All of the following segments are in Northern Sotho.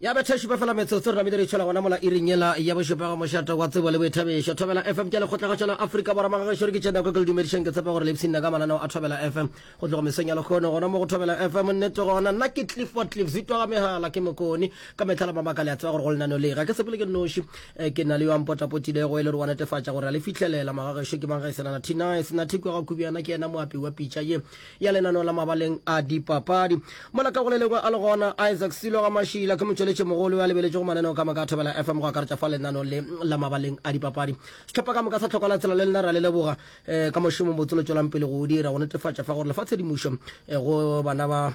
Ya betha šupa fela metsotso re namile re itšhola gona mola iring yela ya bošupa ga mošate wa tsebo le boithabišo. Thobela FM ke lekgotlagašo la Afrika Borwa magagešo re ke tše nako ke le dumedišeng ke tshepa gore le ipshinna ka mananeo a Thobela FM go tloga mesong ya lekgono gona mo go Thobela FM nnete gona nna ke Clifford Cliff Zitwa ga megala ke mokoni ka mehla la mabaka le a tseba gore go lenaneo le ga ke sepele ke nnoši eh, ke na le yo a mpotapotilego e le gore wa netefatša gore a le fihlelela magagešo ke mang ga e senana Tinice Nathikwe ga Kubiana ke yena moapi wa pitša ye ya lenaneo la mabaleng a dipapadi. Mola ka go le lengwe a le gona, Isaac Silo ga Mašila ke motšweletši mogolo yo a lebeletšego mananeo ka moka a Thobela FM go akaretša fa lenaneo le la mabaleng a dipapadi. Sehlopha ka moka sa Tlhokwa la Tsela le lena re a le leboga eh, ka mošomo botse lo tšwelang pele go o dira go netefatša fa gore le fa tshedimošo eh, go bana ba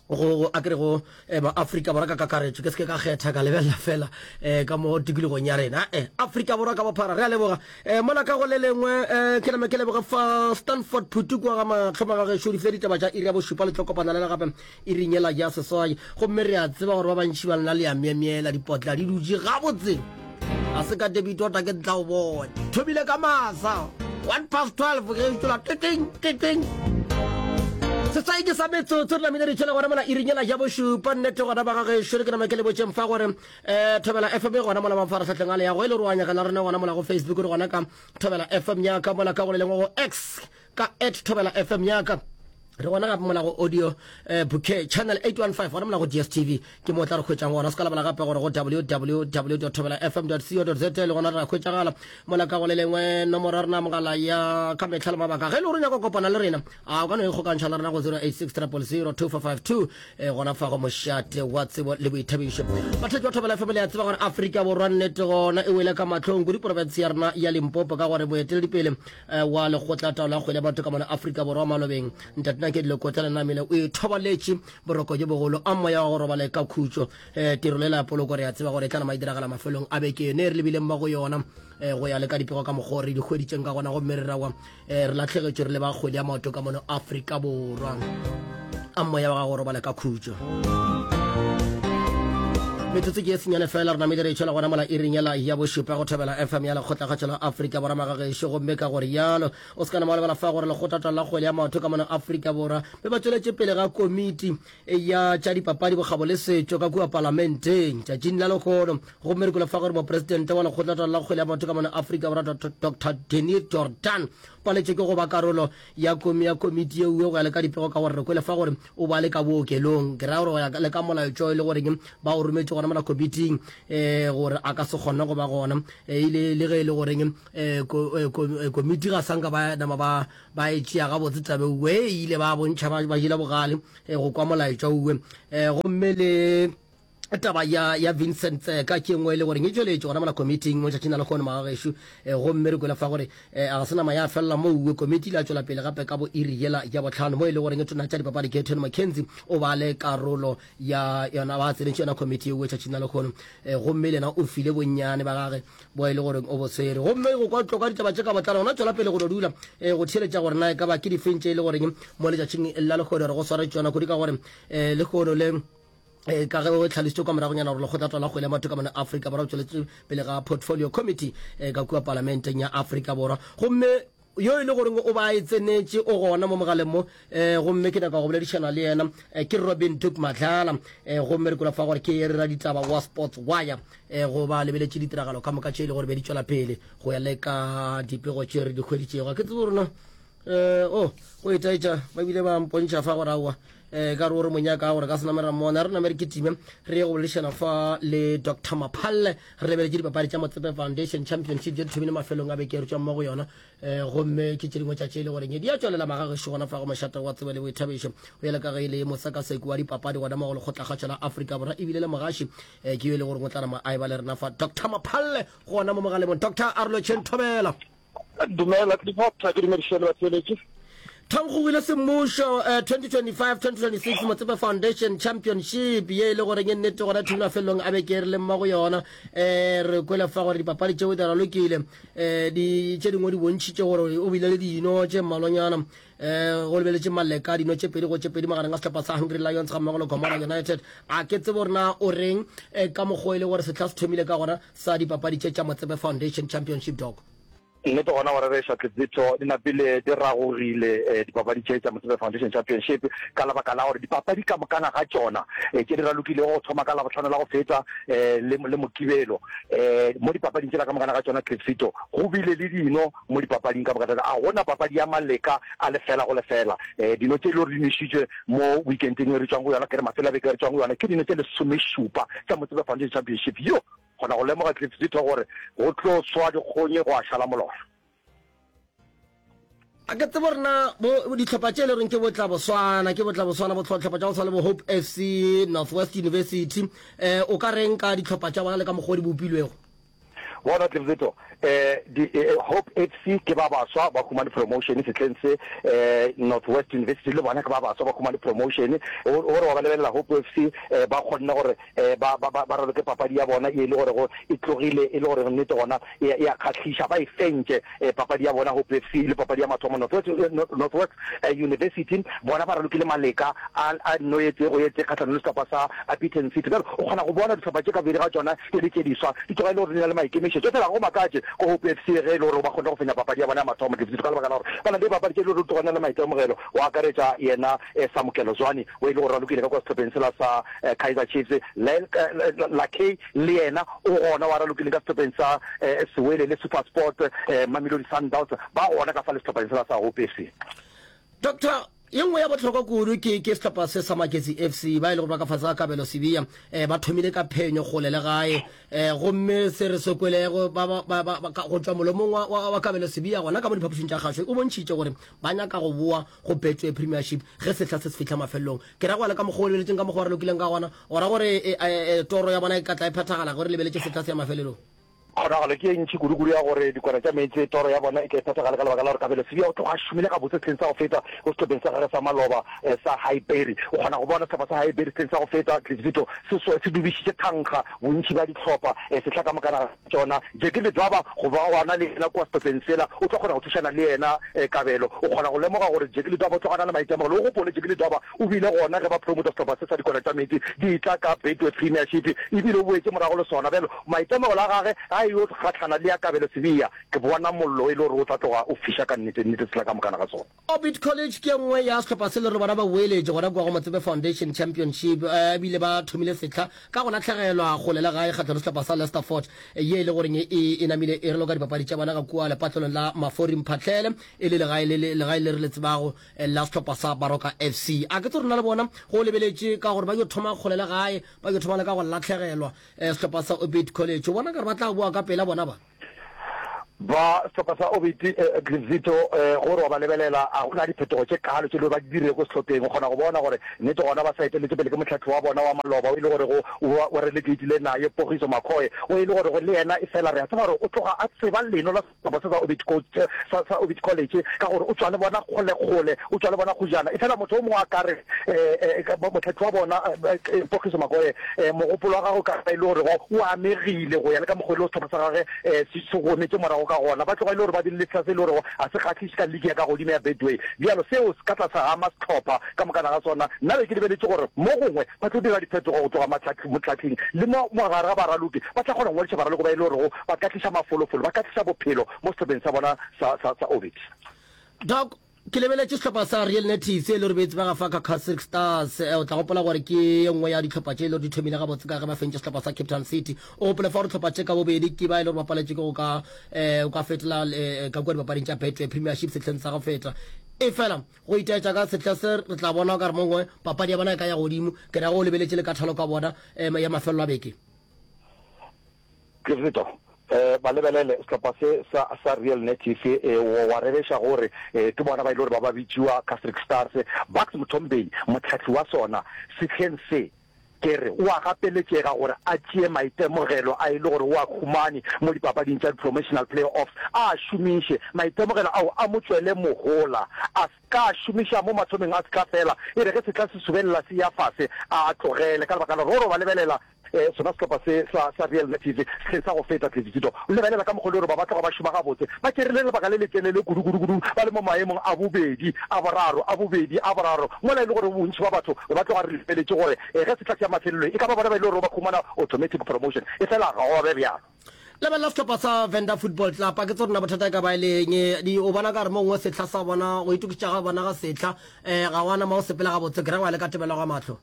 go a kere go eh, ba Afrika Borwa ka kakaretšo ke se ke ka kgetha ka lebelela fela eh, ka mo tikologong ya rena eh, Afrika Borwa ka bophara re a leboga eh, mola ka go le lengwe eh, ke name ke leboge fa Stanford Phutu kwa ga matlhoma ga gešo di file ditaba tša iri ya bošupa le tlo kopana le le gape iring yela ya seswai gomme re a tseba gore ba bantši ba lena le ya myemyela dipotla di dutše gabotse a se ka debit order ke tla o bone thomile ka masa 1:12 ge tšola titing titing seswai ke sa metsotso re namile re tšhela gona mola irinyela ja bošupa nnete gona ba gagešo re ke nama ke le botšeng fa gore um thobela fm e gona mola mafaratlhatlheng a le yago e le gore wa nyakana rena gona mola go facebook re gona ka thobela fm yaka mola ka go le lengwe go x ka at thobela fm yaka re gona gape mola go audio eh, bouquet channel 815 gona mola go dstv ke mo tla re hwetšang gona se ka lebala gape gore go www thobela fm co za le gona re a hwetšagala mola ka go le lengwe nomoro ya rena mogala ya ka mehla le mabaka ge e le gore o nyaka go kopana le rena a o ka no ikgokantšha le rena go 086 000 2452 eh, gona fa go mošate wa tsebo le boithabišo bathetši ba thobela fm le a tseba gore afrika borwa nnete gona e wele ka mahlong kudu porofense ya rena ya limpopo ka gore moeteledipele Eh, wa lekgotla taolo ya kgwele ya batho ka mona Afrika Borwa malobeng ntate Nakedi Lekotla Lenamile o ithobaletše boroko jo bogolo a moya wa go robala ka khutšo. Eh, tirelo ela ya poloko re a tseba gore e tla nama e diragala mafelong a beke yone e re lebileng mo go yona eh, go ya le ka dipego ka mokgwa o re di hweditšeng ka gona gomme re rawa eh, re lahlegetšwe re le ba kgwele ya maoto ka mono Afrika Borwa a moya wa gago robala ka khutšo. Metsotso ke e senyane fela re namile re itšhela gona mola iring yela ya bošupa go thobela FM ya lekgotlakgatšo la Afrika Borwa magagešo gomme ka gore yalo o se ka nama wa lebala fa gore lekgotlatla la kgwele ya maoto ka mona Afrika Borwa be ba tšweletše pele ga komiti ya tša dipapadi bokgabo le setšo ka kua palamenteng tšatšing la lekgono gomme re kwele fa gore mopresidente wa lekgotlatla la kgwele ya maoto ka mona Afrika Borwa Dr Denis Jordan paletše ke go ba karolo ya komi ya komiti yeo go ya le ka dipego ka gore re kwele fa gore o ba le ka bookelong ke raya gore go ya le ka molaetšo e le goreng ba o rometše gona mola komiting um gore a ka se kgone go ba gona e ile le ge e le goreng um komiti ga sanka ba nama ba ba e tšea gabotse tabe uwe e ile ba bontšha ba jela bogale go kwa molaetšo uwe um gomme le taba ya ya Vincent Tseka ke nngwe e le goreng e tšweletše gona mola komiting mo tšatšing la lekgono magagešo eh, gomme re kwele fa gore eh, a ga se nama ya felela mo uwe komiti ile ya tšwela pele gape ka bo iri yela ya botlhano mo e le goreng e tona tša dipapadi Gayton McKenzie o ba le karolo ya yona ba tsenetše yona komiti ye uwe tšatšing la lekgono eh, gomme le yena o file bonnyane ba gage bo e le goreng o bo tshwere gomme go kwa tloka ditaba tše ka botlalo gona tšwela pele go no dula eh, go theeletša gore na e ka ba ke difeng tše e le goreng mo letšatšing la lekgono re go swaretše yona kudu ka gore eh, lekgono le Eh, ka ge o tlhalositše kwa moragonyana gore lekgotla la kgwele ya maoto ka mona Afrika Borwa o tšweletše pele ga portfolio committee eh, ka kua palamenteng ya Afrika Borwa gomme yo e le goreng o ba e tsenetše o gona mo mogaleng mo eh, gomme ke nyaka go boledišana le yena eh, ke Robin Duke Madlala eh, gomme re kwela fa gore ke re raditaba wa Sports Wire eh, go ba lebeletše ditiragalo ka moka tše e le gore be di tšwela pele go ya le ka dipego tše re di hweditšego ga ke tsebe gore na Eh, oh, go itaetša ba bile ba mpontšha fa gore aowa eh, ka re o re monyaka gore ka se name ra mmona re name re kitime re ye go boledišana fa le Dr Maphalle re lebeletše dipapadi tša Motsepe Foundation Championship tše di thomile mafelong a beke re tšwa mmogo yona eh, gomme ke tše dingwe tša tše e le goreng di a tšwelela magagešo gona fa go mošate wa tsebo le boithabišo go yela ka ge e le mosekaseki wa dipapadi gona mo go lekgotlakgatšo la Afrika Borwa ebile le mogaši eh, ke yo e le goreng o tla nama a e ba le rena fa Dr Maphalle gona mo mogaleng Dr Arlo Thobela. Dumela Clifford, ke dumediše le batheeletši. Thankgogile semmušo eh, 2025-2026 Motsepe Foundation Championship ye e le goreng e nnete gona thumi mafelelong a beke re le mma go yona um re kwele fa gore dipapadi tšeo di ralokile um di tše dingwe di bontšhitše gore o bile le dino tše mmalwanyana um go lebeletše maleka dino tše pedi go tše pedi magareng a sehlopha sa Hungry Lions ga mmogo le Gomora United a ke tsebo gore na o reng eh, ka mokgwa e le gore sehla se thomile ka gona sa dipapadi tše tša Motsepe Foundation Championship dog. Nnete gona go rereša, Tletsitho di napile di ragogile dipapadi tše tša Motsepe Foundation Championship ka lebaka la gore dipapadi ka mokana ga tšona tše di ralokilego go thoma ka Labohlano la go feta le le Mokibelo mo dipapading tšela ka mokana ga tšona Tletsito go bile le dino mo dipapading ka moka. A gona papadi ya maleka a lefela go lefela. Dino tše e le gore di nwešitšwe mo weekendeng e re tšwang go yona, ke re mafelo a beke e re tšwang go yona, ke dino tše lesomešupa tša Motsepe Foundation Championship. Yo! Kgona go lemoga Cliff Zitho gore go tlo swa dikgonyi gwa šala molora. A ke tsebe gore na bo dihlopha tše e le goreng ke bo tla boswana, ke bo tla boswana, bo hlopha tša go tshwana le bo Hope FC, Northwest University, eh, o ka reng ka dihlopha tša bona le ka mokgwa o di bopilwego? Bona Cliff Zitho, eh, di, eh, Hope FC ke ba baswa ba humane promotion sehleng se, eh, Northwest University le bona ke ba baswa ba humane promotion. O, o re wa ba lebelela Hope FC, eh, ba kgonne gore eh, ba, ba, ba, ba raloke papadi ya bona e le gore go e tlogile e le gore nnete gona e, e a kgahliša. Ba e fentše eh, papadi ya bona Hope FC e le papadi ya mathomo. Northwest, eh, Northwest eh, University bona ba ralokile maleka a, a nno e tee go e tee kgahlanong le sehlopha sa Upington City. Bjale o kgona go bona dihlopha tše ka bobedi ga tšona e le tše diswa, di tloga e le gore di na le maikemišetšo. Efela ga go makatše ko Hope FC ge e le gore ba kgonne go fenya papadi ya bona ya mathomo Dipsitho ka lebaka la gore ba na le dipapadi tše e le gore di tloga di na le maitemogelo go akaretša yena eh, Samukelo Zwane o e le gore ralokile ka kwa sehlopheng sela sa Kaizer Chiefs. Lakay le yena o gona wa ralokile ka sehlopheng sa Sewele le SuperSport, Mamelodi Sundowns ba gona ka fa le sehlopheng sela sa Hope FC. Doctor, ye nngwe ya bohlokwa kudu ke ke sehlopha se sa Magesi FC ba e le gore ba ka fase ga Kabelo Sibiya eh, ba thomile ka phenyo kgole le gae eh, gomme se re se kwelego ba, ba, ba, ba, ba, go tšwa molomong wa, wa, wa Kabelo Sibiya gona ka mo diphapošing tša kgašo o bontšhitše gore ba nyaka go boa go Betway Premiership ge sehla se se fihla mafelelong. Ke ra go ya le ka mokgwa o lebeletšeng ka mokgwa o re lokileng ka gona, o ra gore e, e, e, toro ya bona e ka tla e phethagala ge re lebeletše sehla se ya mafelelong. Kgonagalo ke ye ntši kudu-kudu ya gore dikwana tša meetse toro ya bona e tle e phethagale ka lebaka la gore Kabelo Sibiya o tloga a šomile gabotse sehleng sa go feta go sehlopheng sa gagwe sa maloba sa Highbury. O kgona go bona sehlopha sa Highbury sehleng sa go feta Tletsito se se dubišitše thankga bontši bja dihlopha sehla ka mokana tšona. Jackie Ledwaba go ba gona le yena kua sehlopheng sela, o tlo kgona go thušana le yena Kabelo. O kgona go lemoga gore Jackie Ledwaba o tloga a na le maitemogelo. O gopole, Jackie Ledwaba o bile gona ge ba promota sehlopha se sa dikwana tša meetse di etla ka Betway Premiership, ebile o boetše morago le sona. Bjalo maitemogelo a gage ga a yo gahlana le ya Kabelo Sibiya. Ke bona mollo e le gore o tla tloga o fiša ka nnete, nnete sehla ka mokana ga sona. Orbit College ke ye nngwe ya sehlopha se le gore bona ba boeletše gona kua go Motsepe Foundation Championship ebile ba thomile sehla ka go lahlegelwa kgole le gae kgahlano le sehlopha sa Leicester Fort ye e le goreng e e namile e raloka dipapadi tša bona ka kua lepatlelong la Mafori Mphahlele e le legae le legae le re le tsebago la sehlopha sa Baroka FC. A ke tse rena le bona go lebeletše ka gore ba yo thoma kgole le gae ba yo thoma le ka go lahlegelwa sehlopha sa Orbit College o bona ka re ba tla boa ka pela bona ba. Ba sehlopha sa Orbit Glivzito gore wa ba lebelela, a go na diphetogo tše kaalo tše ba di dirilego sehlopheng. O kgona go bona gore nnete gona ba sa eteletše pele ke mohlahli wa bona wa maloba o e le gorego o relegatile naye Pogiso Makhoye, o e le gorego le yena efela re a tseba gore o tloga a tseba leno la sehlopha se sa Orbit Coach sa sa Orbit College ka gore o tšwa le bona kgolekgole, o tšwa le bona kgojana. Efela motho o mongwe a ka re mohlahli wa bona Pogiso Makhoye mogopolo wa gagwe o ka ba e le gorego o amegile go ya le ka mokgwa e le sehlopha sa gagwe se se gometše morago ka gona. Ba tloga e le gore ba bile le sehla se e le gorego ga se kgahliše ka liki ya ka godimo ya Betway. Bjalo seo se ka tla sa ama sehlopha ka mokana ga sona. Nna be ke lebeletše gore mo gongwe ba tlo dira diphetogo go tloga mohlahling le mo mo gare ga baraloki. Ba tla kgona go ngwadiša baraloki ba e le gorego ba ka tliša mafolofolo, ba ka tliša bophelo mo sehlopheng sa bona sa sa sa Orbit. Doc, Ke lebeletše sehlopha sa Real Natives e le gore be e tsebega fa ka Casric Stars. Eh, o tla gopola gore ke ye nngwe ya dihlopha tše e le gore di thomile gabotse ka ge ba fentše sehlopha sa Cape Town City. O gopole fa gore dihlopha tše ka bobedi ke ba e le gore ba paletše ke go ka eh, o ka fetola eh, ka kua dipapading tša Betway Premiership sehleng sa go feta. E fela go itaetša ka sehla se re tla bona o ka re mongwe papadi ya bona e ka ya godimo. Ke ra go o lebeletše le ka thalo ka bona eh, ya mafelelo a beke. Kvido, Eh, ba lebelele sehlopha se sa, sa Real Native, eh, wa, wa rereša gore eh, ke bona ba e le gore ba ba bitšiwa Casric Stars. Bucks Mthombeni, mohlahli wa sona sehleng se, ke re o a gapeletšega gore a tšee maitemogelo a e le gore o a humane mo dipapading tša di-promotional play-offs, a a šomiše. Maitemogelo ao a mo tšwele mohola, a se ka a šomiša mo mathomeng a sehla fela, e re ge sehla se subelela se eya fase, a a tlogele ka lebaka la gore o re ba lebelela Sona sehlopha se sa, sa Real Native sehleng sa go feta, Tletsitito, o lebelela ka mokgwa le gore ba ba tloga ba šoma gabotse. Ba tšerile lebaka le letelele kudu, kudu, kudu ba le mo maemong a bobedi, a boraro, a bobedi, a boraro, mola e le gore bontši bja batho be ba tloga re lebeletše gore ge sehla se ya mafelelong e ka ba bona ba e le gore ba humana automatic promotion. Efela ga gwa be bjalo. Lebelela sehlopha sa Venda Football Club, a ke tsebe gore na bothata e ka ba e le eng. Di, o bona ka re mo gongwe sehla sa bona, go itokišetša ga bona ga sehla, um ga wa nama o sepela gabotse, ke ra go ya le ka tebelo ga mahlo.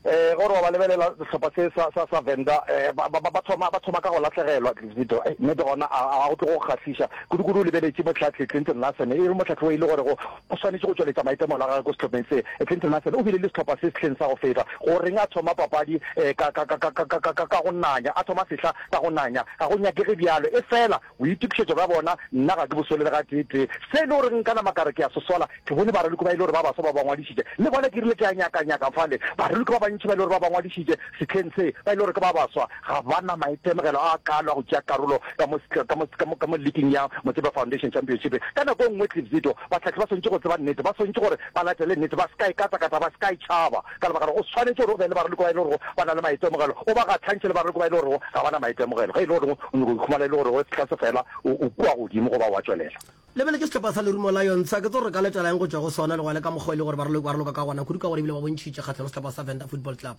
Um ge o re wa ba lebelela sehlopha se sa, sa, sa Venda, um ba, ba, ba thoma, ba thoma ka go lahlegelwa, Zito. Ei, nnete gona a, a go tlo go kgahliša. Kudu-kudu o lebeletše mohlahli Clinton Larsen, e le mohlahli o e le gorego o swanetše go tšweletša maitemogelo a gagwe ko sehlopheng se. Clinton Larsen o bile le sehlopha se sehleng sa go feta. Go reng a thoma papadi um ka, ka, ka, ka, ka, ka, ka, ka go nanya, a thoma sehla ka go nanya? Ga go nyakege bjalo. Efela boitokišetšo bja bona nna ga ke bo sole le gatee-tee. Se e le goreng nka nama ka re ke a se sola, Ke bone baraloki ba e le gore ba baswa ba ba ngwadišitše, le bona ke rile ke a nyaka-nyaka fale. Baraloki ba bantši ba e le gore ba ba ngwadišitše sehleng se, ba e le gore ke ba baswa, ga ba na maitemogelo a kaalo a go tšea karolo ka mo, ka mo, ka mo, ka mo liking ya Motsepe Foundation Championship. Ka nako e nngwe, Cliff Zito, bahlahli ba swanetše go tseba nnete, ba swanetše gore ba latele nnete, ba se ka e katakata, ba se ka e tšhaba, ka lebaka la gore o swanetše gore o be le baraloki ba e le gorego ba na le maitemogelo, o ba gahlantšhe le baraloki ba e le gorego ga ba na maitemogelo. Ge e le gore o nyaka go ikhumana e le gore sehla se fela o, o kua godimo goba o a tšwelela. Lebeletše sehlopha sa Lerumo Lions, a ke tsebe gore re ka letela eng go tšwa go sona le go ya le ka mokgwa e le gore ba raloka ka gona, kudu ka gore ebile ba bontšhitše kgahlano le sehlopha sa Venda Football Club.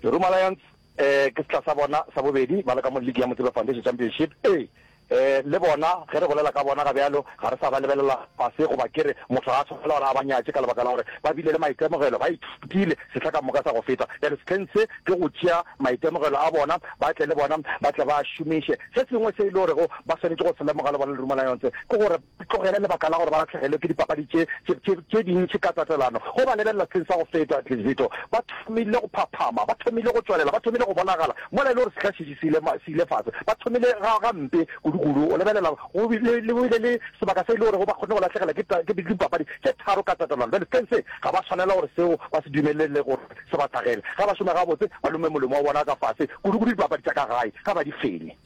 Lerumo Lions eh, ke sehla sa bona sa bobedi ba le ka mo ligi ya Motsepe Foundation Championship. Ee, eh, le bona ge re bolela ka bona ga bjalo ga re sa ba lebelela fase goba ke re motho ga a tshwanela gore a ba nyatše ka lebaka la gore ba bile le maitemogelo, ba ithutile sehla ka moka sa go feta. Bjale sehleng se ke go tšea maitemogelo a bona ba tle le bona ba tle ba a šomiše. Se sengwe se e le gorego ba swanetše go se lemoga le bona Lerumo Lions ke gore ba tlogele lebaka la gore ba lahlegelwe ke dipapadi tše, tše, tše, tše dintši ka tatelano. Go ba lebelela sehleng sa go feta, Zito, ba thomile go phaphama, ba thomile go tšwelela, ba thomile go bonagala mola e le gore sehla šetše se ile, se ile fase. Ba thomile ga, gampe kudu-kudu. O lebelela, go bile le, go bile le sebaka se e le gorego ba kgonne go lahlegela ke, ke dipapadi tše tharo ka tatelano. Bjale sehleng se ga ba swanela gore seo ba se dumelele gore se ba hlagele. Ge ba šoma gabotse, ba lome molomo wa bona ka fase, kudu-kudu dipapadi tša ka gae, ga ba di fenye.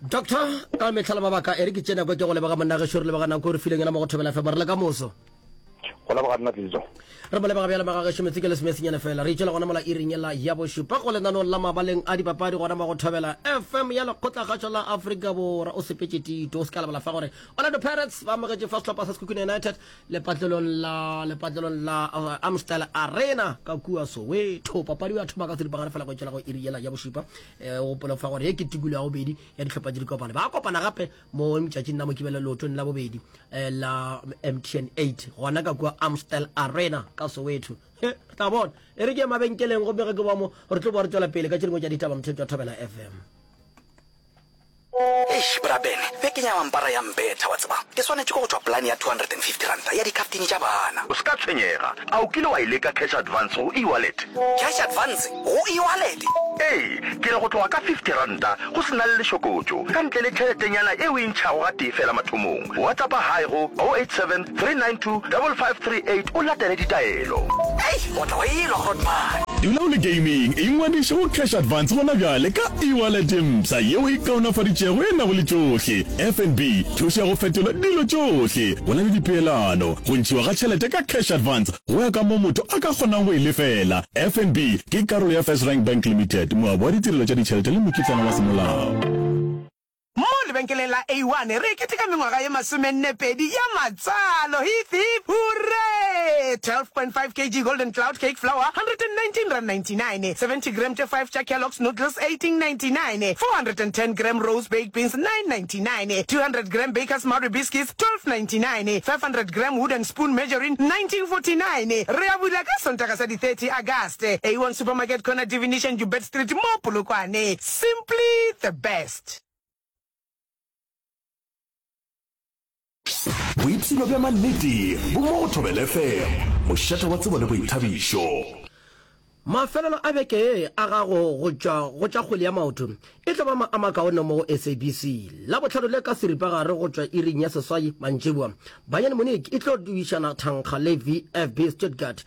Doctor, ka mehla le mabaka, e re ke tšee nako ke go leboga monna gešo, re leboga nako e re fileng yona mo go Thobela FM. Re le ka moso. Go leboga nna Tlizo. Re mo leboga bjale magagešo metse ke lesomesenyane fela. Re itšwela gona mola iring yela ya bošupa go lenanong la mabaleng a dipapadi gona mo go Thobela FM ya Lekgotlakgašo la Afrika Borwa. O sepetše Tito, o se ka lebala fa gore Orlando Pirates ba amogetše fa sehlopha sa Sekhukhune United Lepatlelong la lepatlelong la uh, Amstel Arena ka kua Soweto. Papadi ya thoma ka seripagare fela go tšwela go iri yela ya bošupa. Eh, o gopola fa gore ye ke tikolo ya bobedi ya dihlopha tše di kopane. Ba kopana gape mo letšatšing la Mokibelo leotong la bobedi eh, la MTN 8 gona ka kua Amstel Arena ka Soweto. He, re tla bona. E re ke ye mabenkeleng gomme ge ke boa mo re tlo boa re tšwela pele ka tše dingwe tša ditaba motheetši wa Thobela FM. Eish, Bra Ben, bekeng ya mampara ya mpetha, wa tseba. Ke swanetše ke go tšwa polane ya R250 ya dikhaftini tša bana. O se ka tshwenyega. A o kile wa e leka cash advance go eWallet? Cash advance go eWallet? Ee, ke re go tloga ka R50 go se na le lešokotšo, ka ntle le tšheletenyana e o e ntšhago gatee feela mathomong. WhatsAppa Hi go 087 392 5538 o latele ditaelo. Ei, o tla wa elwa, Grootman. Dula o le gaming, ingwadiše go Cash Advance gona bjale ka e-wallet e mpsha yeo e kaonafaditšego e nago le tšohle. FNB, thušo ya go fetola dilo tšohle. Go na le dipeelano, go ntšhiwa ga tšhelete ka Cash Advance go ya ka mo motho a ka kgonang go e lefela. FNB ke karolo ya FirstRand Bank Limited, moabi wa ditirelo tša ditšhelete le mokitlana wa semolao. Mo lebenkeleng la A1 re keteka mengwaga ye masomennepedi ya matswalo. Hip hip hurray! 12.5 kg Golden Cloud Cake Flour, R119.99, 70 gram tše 5 tša Kellogg's Noodles, 18.99, 410 gram Rose Baked Beans, 9.99, 200 gram Baker's Marie Biscuits, 12.99, 500 gram Wooden Spoon Margarine, 19.49. Re a bula ka Sontaga sa di 30 Agast. A1 Supermarket Corner Divination Joubert Street mo Polokwane. Simply the best. Boipshino bja mannete bo mo go Thobela FM, mošate wa tsebo le boithabišo. Mafelelo a beke ye a gago go tšwa go tša kgwele ya maoto e tlo ba a makaone mo go SABC. Labohlano le ka seripagare go tšwa iring ya seswai mantšiboa, Bayern Munich e tlo duišana thankga le VfB Stuttgart.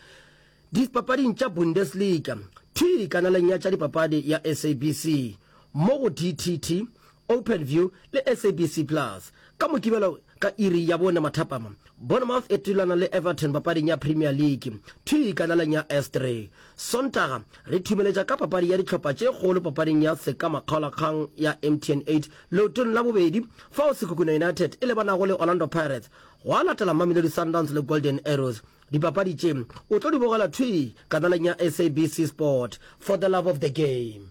Dipapading tša Bundesliga, thwi kanaleng ya tša dipapadi ya SABC, mo go DTT, Openview le SABC Plus. Ka Mokibelo ka iri ya bone mathapama, Bournemouth e thulana le Everton papading ya Premier League, thwi kanaleng ya S3. Sontaga, re thumeletša ka papadi ya dihlopha tše kgolo papading ya sekamakgaolakgang ya MTN 8 leotong la bobedi, fao Sekhukhune United e lebanago le Orlando Pirates, gwa latela Mamelodi Sundowns le Golden Arrows. Dipapadi tše o tlo di bogela thwii kanaleng ya SABC Sport for the love of the game.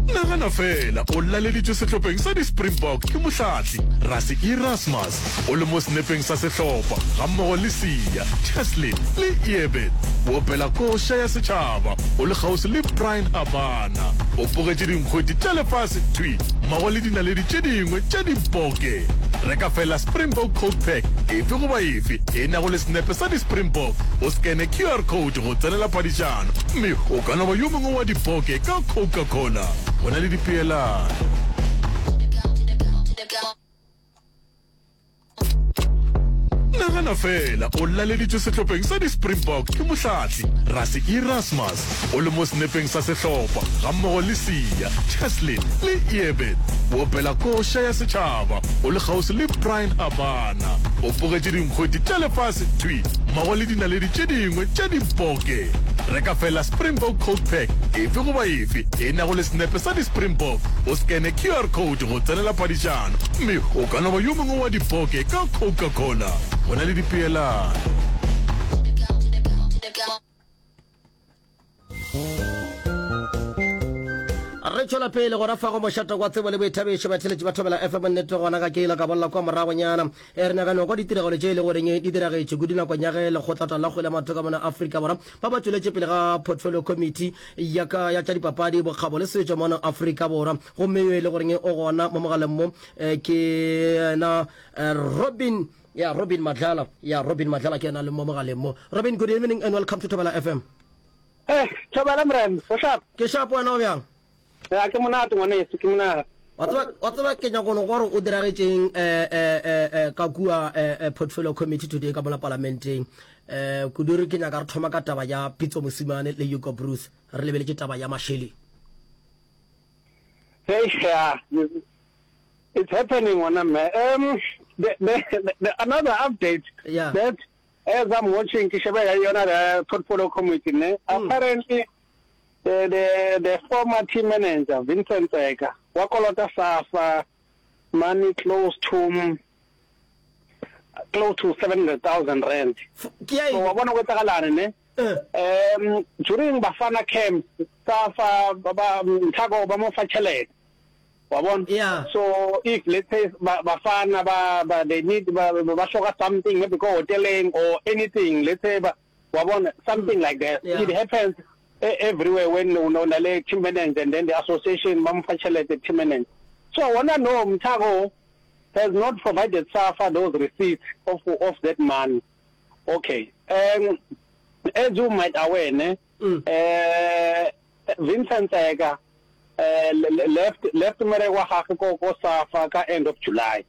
Nagana feela o laleditšwe sehlopheng sa di-Springbok ke mohlahli Rassie Erasmus, o le mo senepeng sa sehlopha gammogo le Siya, Cheslin le Eben. O opela koša ya setšhaba o le kgauswi le Bryan Habana. O pogetše dinkgwete tša lefase thwi mmogo le dinaledi tše dingwe tša diboke. Reka feela Springbok Coke Pack efe goba efe e nago le senepe sa di-Springbok, o skene QR code go tsenela phadišano mme o ka no ba yo mongwe wa diboke ka Coca-Cola. Go na le dipeelano. Nagana feela o laleditšwe sehlopheng sa di-Springbok ke mohlahli Rassie Erasmus, o le mo senepeng sa sehlopha gammogo le Siya, Cheslin le Eben. O opela koša ya setšhaba o le kgauswi le Bryan Habana. O pogetše dinkgwete tša lefase thwi mmogo le dinaledi tše dingwe tša diboke. Reka feela Springbok Coke Pack efe goba efe e nago le senepe sa di-Springbok, o skene QR code go tsenela phadišano mme o ka no ba yo mongwe wa diboke ka Coca-Cola. Go na le dipeelano. Re tšwela pele go rafa go mošate wa tsebo le boithabišo batheletši ba Thobela FM nnete gona ga ke ile ka bolela kwa moragonyana e re nyakano kwa ditiragalo tše e le goreng di diragetše kudu nakong ya ge lekgotlata la kgwele ya maoto ka mona Afrika Borwa ba ba tšweletše pele ga portfolio committee ya ka ya tša dipapadi bokgabo le setšo mona Afrika Borwa gomme yo e le goreng o gona mo mogaleng mo eh, ke yena eh, Robin ya Robin Madlala ya Robin Madlala ke yena le mo mogaleng mo Robin good evening and welcome to Thobela FM Eh, Thobela Morena, o sharp? Ke sharp wena o bjang? Ya ke monate ngwaneso, ke monate. Wa tseba wa tseba ke nyako no gore o diragetšeng eh eh eh, eh ka kua eh, eh portfolio committee today ka mola palamenteng. Eh kudu re ke nyaka re thoma ka taba ya Pitso Mosimane le Hugo Broos re lebeletše taba ya mašeleng. Hey, yeah, it's happening ngwana mme. Um the, the, the, another update yeah. that As I'm watching ke sheba ya yona the portfolio committee ne mm. apparently the, the the former team manager Vincent Tseka wa kolota SAFA money close to close to 700,000 rand. So wa bona go etsagalane ne? Eh. Um during Bafana camp SAFA ba Mthako ba mo fa tšhelete. Wa bona? Yeah. So if let's say ba bafana ba ba they need ba ba hloka something maybe ko hoteleng or anything let's say ba wa bona something like that. Yeah. It happens e- everywhere when o no na le team manager and then the association ba mo fa tšhelete team manager. So wona no Mthako has not provided SAFA those receipts of of that money. Okay. Um as you might aware ne Mm. eh Vincent Tseka left left mmereko wa gagwe ko ko SAFA ka end of July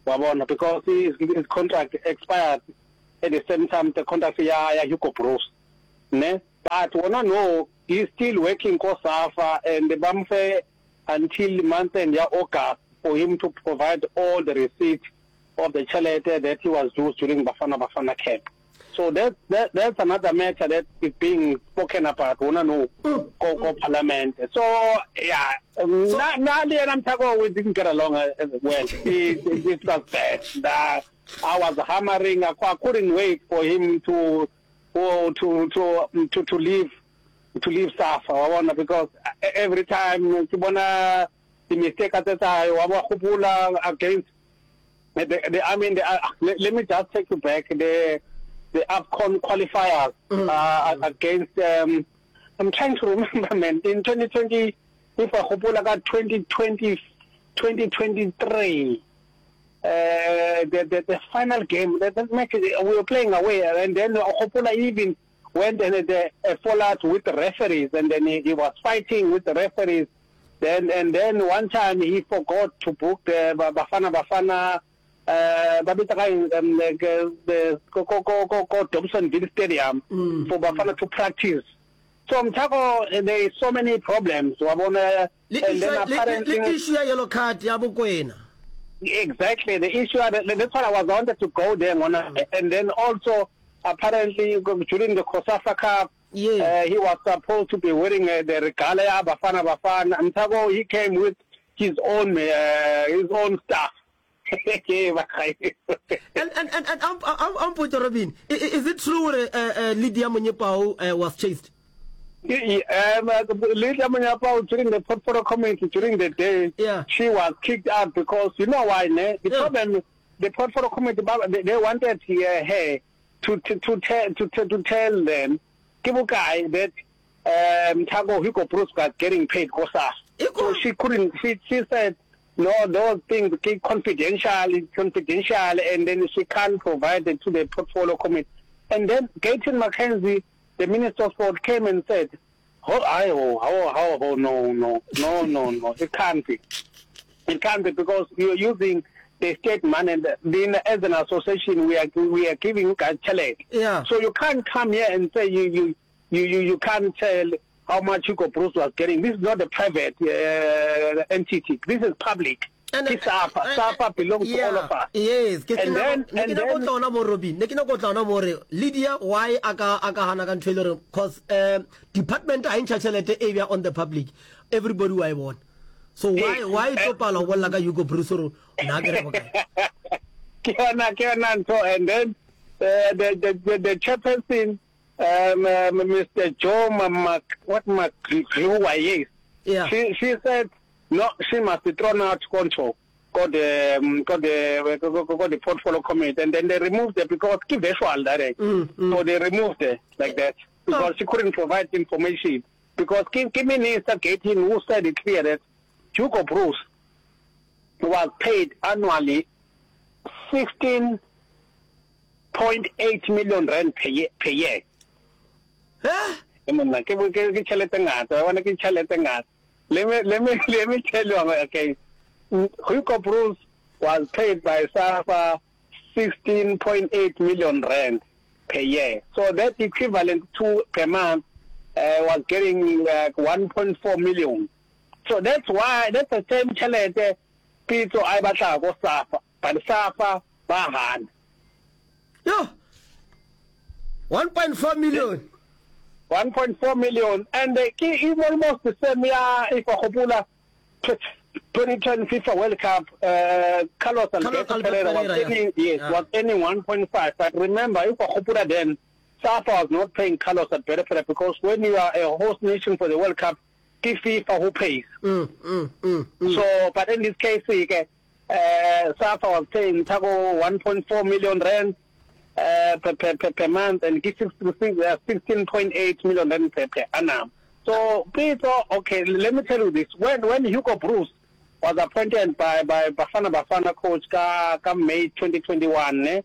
wa bona because his, his contract expired at the same time the contract ya ya Hugo Broos ne but wona no he is still working ko SAFA and ba mo fe until month end ya August for him to provide all the receipts of the tšhelete that he was due during Bafana Bafana camp. So that, that that's another matter that is being spoken about gona no ko ko parliament. So yeah, So- na na le yena Mthako we didn't get along uh, as well. It, it, it was bad. Uh, I was hammering. I, I couldn't wait for him to to to to to, to leave to leave SAFA wa bona because every time ke bona di mistake tse tsa wa ba gopola against The, the, I mean, the, uh, let, let me just take you back. The, the AFCON qualifiers mm. uh, against, um, I'm trying to remember, man, in 2020, if I hopola ka 2020, 2023, uh, the, the, the final game, the, the match, we were playing away, and then Hopola even went and had a, a fallout with the referees, and then he, he was fighting with the referees. Then and then one time he forgot to book the Bafana Bafana uh, ba bitsa ka eng um, the, the, ko, ko, ko, ko, ko Dobsonville Stadium mm. for Bafana to practice. So Mthako, there is so many problems. Wa bona Le and then issue, le, apparently le issue ya yellow card ya Bokwena. Exactly, the issue, that's why I was wanted to go there, ngwana. And then also, apparently, during the COSAFA Cup, Yeah. Uh, he was supposed to be wearing uh, the regalia Bafana Bafana. Mthako, he came with his own, uh, his own stuff. And and and and I'm I'm I'm Robin. Is it true uh, uh, Lydia Monyepao uh, was chased? Um, Lydia Monyepao during the portfolio committee during the day, yeah. she was kicked out because you know why, ne? The yeah. problem, the portfolio committee, they, they wanted uh, her to to to tell to, to, to tell them, ke bokae that um Thabo Hugo Broos was getting paid ko SAFA. So she couldn't. She she said no, those things ke confidential, confidential, and then she can't provide it to the portfolio committee. And then Gayton McKenzie The Minister of Sport came and said, Ho, I, ho, ho, ho, ho, no, no, no, no, no, it can't be. It can't be because you're using the state money and then as an association we are, we are giving you guys tšhelete. Yeah. So you can't come here and say you, you, you, you, you can't tell how much Hugo Broos was getting. This is not a private uh, entity. This is public. Ke SAFA. SAFA belongs to all of us. Yes, ke And then, ne ke and nyako then, tla ona mo Robin. Ne ke nyako tla ona mo re Lydia why a ka a ka hana ka ntho e le gore cause um department ha e ntšha tšhelete e bja on the public everybody wa e bona. So why eh, why eh, tlo pala go bolela ka Hugo Broos gore na ke re bokae? ke yona ke yona ntho and then uh, the, the, the, the chairperson um, um, Mr. Joe Mamak, what Makgruwa, yes. Yeah. She, she said No, she must be thrown out konto ko the mm, ko the ko ko the portfolio committee and then they removed her because ke virtual direct. Mm, mm. So they removed her like that because she couldn't provide information because ke ke minister Gayton who said it clear that Hugo Broos was paid annually 16.8 million rand per year, per year. Eh? E monna ke ke ke tšhelete ngata wa bona ke tšhelete ngata Let me let me let me tell you okay. Hugo Broos was paid by SAFA 16.8 million rand per year. So that equivalent to per month uh, was getting like 1.4 million. So that's why that's the same tšhelete Pitso a e batlago ko SAFA, but SAFA ba gana. Yo. 1.4 million. 1.4 million and ke e almost the same ya if wa gopola 2010 FIFA World Cup uh, Carlos Alberto Pereira was earning yes yeah. was earning 1.5 but remember if wa gopola then SAFA was not paying Carlos Alberto Pereira because when you are a host nation for the World Cup ke FIFA who pays mm, mm, mm, mm. so but in this case ke uh, SAFA was paying Thabo 1.4 million rand uh, per, per, per, per month and ke 16.8 million rand per, per annum. So, Pitso, okay, let me tell you this. When, when Hugo Broos was appointed by, by Bafana Bafana coach ka, ka May 2021, eh,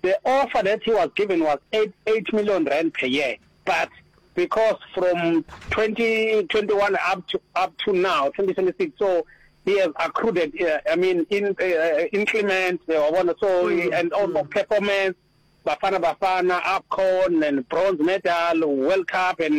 the offer that he was given was 8, 8 million rand per year. But because from 2021 up to, up to now, 2026, so he has accrued, uh, I mean, in, uh, increment, uh, so, mm, and also mm. performance, Bafana Bafana, AFCON, and bronze medal, World Cup, and